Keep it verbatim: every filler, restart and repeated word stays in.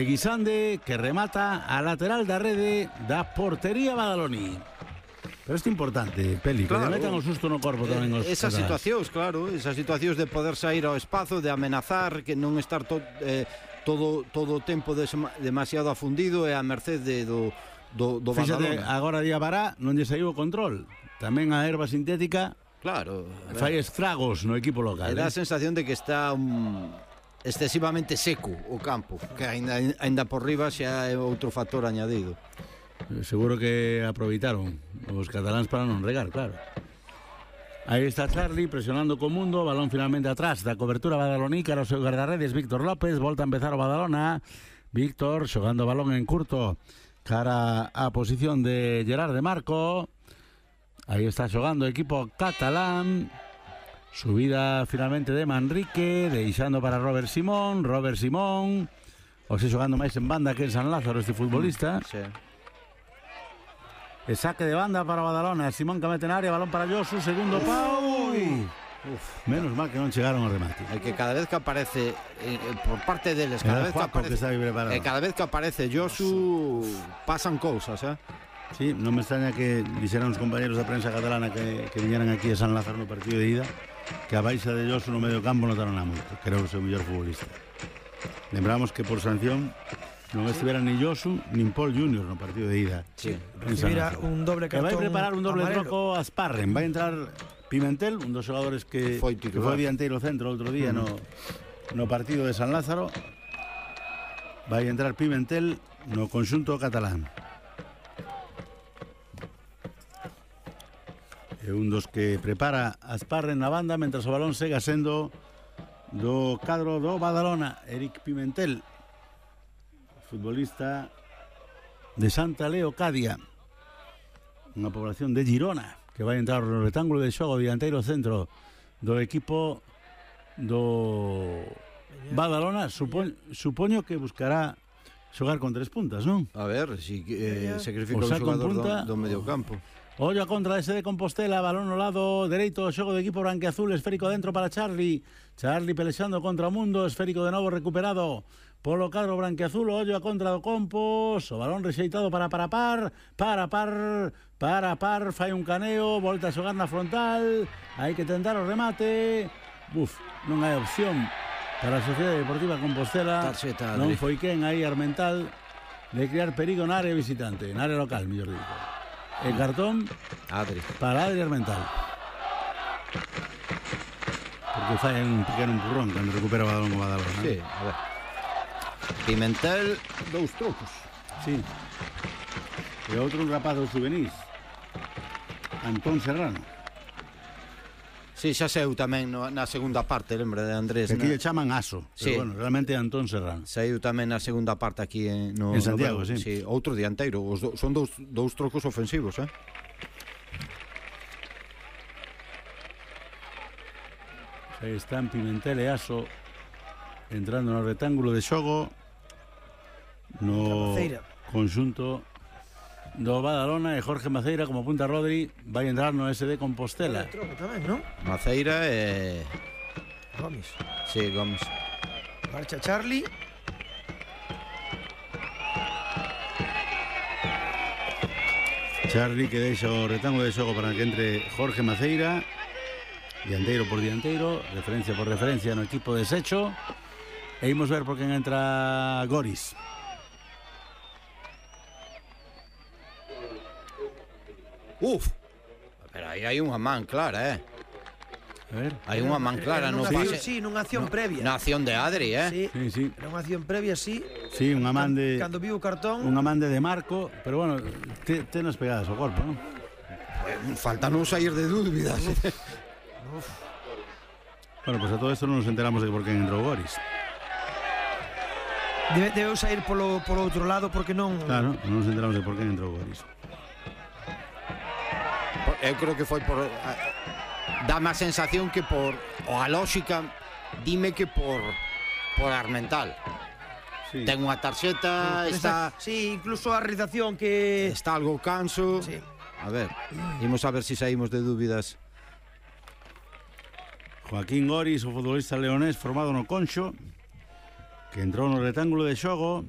Guisande, que remata a lateral da rede da portería badaloní. Pero isto é importante, Peli, claro, que le metan o susto no corpo tamén os esas cataláns. situacións, claro, esas situacións de poder sair ao espazo, de amenazar, que non estar to, eh, todo todo o tempo des, demasiado afundido e a merced de, do, do, do Fíxate, Badalona. agora Día Bará non lle saiu o control. Tamén a erva sintética, claro, fai estragos no equipo local. dá eh? a sensación de que está un, excesivamente seco o campo, que ainda, ainda por riba xa é outro factor añadido. Seguro que aproveitaron os cataláns para non regar, claro. Aí está Charlie presionando co mundo, balón finalmente atrás da cobertura badaloní, cara ao seu guardarredes Víctor López, volta a empezar o Badalona. Víctor xogando o balón en curto cara á posición de Gerard de Marco. Aí está xogando o equipo catalán. Subida finalmente de Manrique, deixando para Robert Simón, Robert Simón, o se xogando máis en banda que en San Lázaro este futbolista. Sí. E saque de banda para Badalona, Simón que mete en área, balón para Josu, segundo pau. Uf, menos mal que non chegaron ao remate. É que cada vez que aparece eh, por parte deles, cada vez que aparece, que eh, cada vez que aparece Josu pasan cousas, eh? Sí, non me extraña que dixeran os compañeros da prensa catalana que, que viñeran aquí a San Lázaro no partido de ida, que a baixa de Josu no medio campo notaron a moito, que era o seu mellor futbolista. Lembramos que por sanción non estivera ni Josu nin Paul junior no partido de ida. Sí, recibira un doble cartón. Que vai preparar un doble amarelo. troco a Sparren, vai entrar Pimentel, un dos xogadores que foi, que foi dianteiro centro outro día uh -huh. no, no partido de San Lázaro. Vai entrar Pimentel no conxunto catalán. É un dos que prepara a Sparren na banda, mentras o balón sega sendo do cadro do Badalona, Eric Pimentel, futbolista de Santa Leocadia, unha población de Girona, que vai entrar no rectángulo de xogo dianteiro centro do equipo do Badalona. Supo, supoño que buscará xogar con tres puntas, non? A ver, si eh, sacrifica o un xogador punta, do, do medio campo. Ollo a contra ese de Compostela, balón no lado dereito do xogo do equipo branquiazul, esférico dentro para Charlie. Charlie pelexando contra o Mundo, esférico de novo recuperado polo cadro branquiazul, ollo a contra do Compos, o balón rexeitado para para par, para par, para par, fai un caneo, volta a xogar na frontal, hai que tentar o remate. Buf, non hai opción para a Sociedade Deportiva Compostela. Tarxeta, non foi quen aí Armental de crear perigo na área visitante, na área local, mellor dito. El cartón Adri. para Adri Armental, porque fai un pequeno empurrón cando recupera o balón o Badalona. Sí, a ver. Pimentel, dous trocos. Sí. E outro un rapaz dos juvenis, Antón Serrano. Sí, xa saiu tamén no, na segunda parte, lembra de Andrés. Que aquí na... lle chaman Aso, pero sí. bueno, realmente é Antón Serrano. Saiu tamén na segunda parte aquí en, no, en Santiago, no, sí. sí. Outro dianteiro, os do, son dous, dous trocos ofensivos, eh? Aí están Pimentel e Aso entrando no rectángulo de xogo no conxunto do Badalona, e Jorge Maceira como punta Rodri vai entrar no S D Compostela. Tamén, non? Maceira e Gomes. Sí, Gomes. Marcha Charlie. Charlie que deixa o rectángulo de xogo para que entre Jorge Maceira, dianteiro por dianteiro, referencia por referencia no equipo de Secho, e imos ver por quen entra Goris. Uf, pero aí hai unha man clara, eh? A ver. Hai unha man clara no pase. Sí, nunha acción no, previa. Na acción de Adri, eh? Sí, sí, sí. Era unha acción previa, sí. Sí, unha man de... Cando viu o cartón... Unha man de Marco, pero bueno, te, tenos pegadas ao corpo, non? Falta non sair de dúbidas. Uf. Bueno, pues a todo esto non nos enteramos de por quen entrou Goris. Debe, debeu sair polo, polo outro lado porque non... Claro, non nos enteramos de por quen entrou Goris. Eu creo que foi por... Dame a sensación que por... O a lógica, dime que por... Por Armental. Sí. Ten unha tarxeta, sí, está... Sí, incluso a realización que... Está algo canso. Sí. A ver, imos a ver se si saímos de dúbidas. Joaquín Goris, o futbolista leonés formado no Conxo, que entrou no rectángulo de xogo,